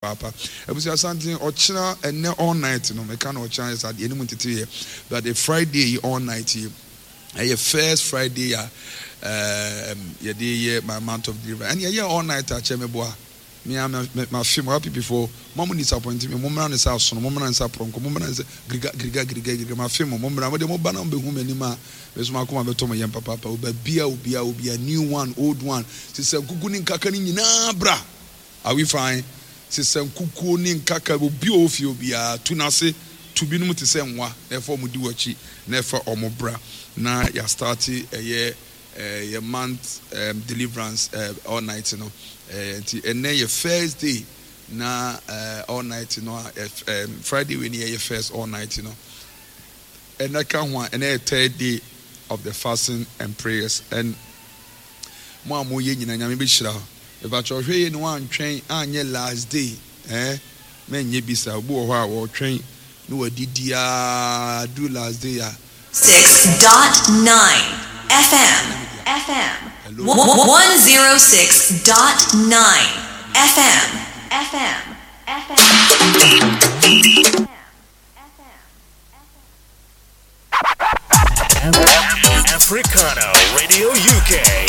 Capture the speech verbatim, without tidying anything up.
Paapa abusua santen ɔkyena ɛnɛ all night no meka na ɔkyena yɛ saa deɛ anim tete yɛ, but the Friday yi all night yi ɛyɛ first Friday a ɛɛm yɛde yɛ my month of deliverance ɛne ɛyɛ all night akyɛ me boa me a ma fe mo happy before mo mo disappoint me. Mo mmra ne sɛ asono, mo mmra ne sɛ aprɔnkɔ, mo mmra ne sɛ giriga giriga giriga giriga. Ma fe mo mo mmra mo de mo ba na mo bɛhu m'anim a me so makoma bɛtɔ mo yɛm papaapa. Obabia obia obia, new one, old one, sisa nkuku ne nkaka ne nyinaa bra. Are we fine? Sisa nkukuo ne nkaka, obi a ɔwɔ fie obiara tu n'ase tu binom te sɛ nwa na ɛfa ɔmo di w'akyi na ɛfa ɔmo bra na yɛastart ɛyɛ ɛɛ yɛ month um, deliverance uh, all night no. ɛɛ nti ɛnɛ yɛ first day na uh, all night no a ɛɛ Friday wei ni yɛyɛ first all night no. Ɛnɛ ka ho a ɛnɛ yɛ third day of the fasting and prayers, and mo a mo yɛ nyina, Nyame bɛhyira hɔ. Ìbàkyɛ ɔhwɛ yie ni wantwɛn anyɛ last day ɛɛ mɛnyɛ bisa. Obi wɔ hɔ a wɔretwɛn na wadidi aa do last day a. Six dot nine F M. F M. One zero six dot nine F M. F M. F M. Africana Radio U K.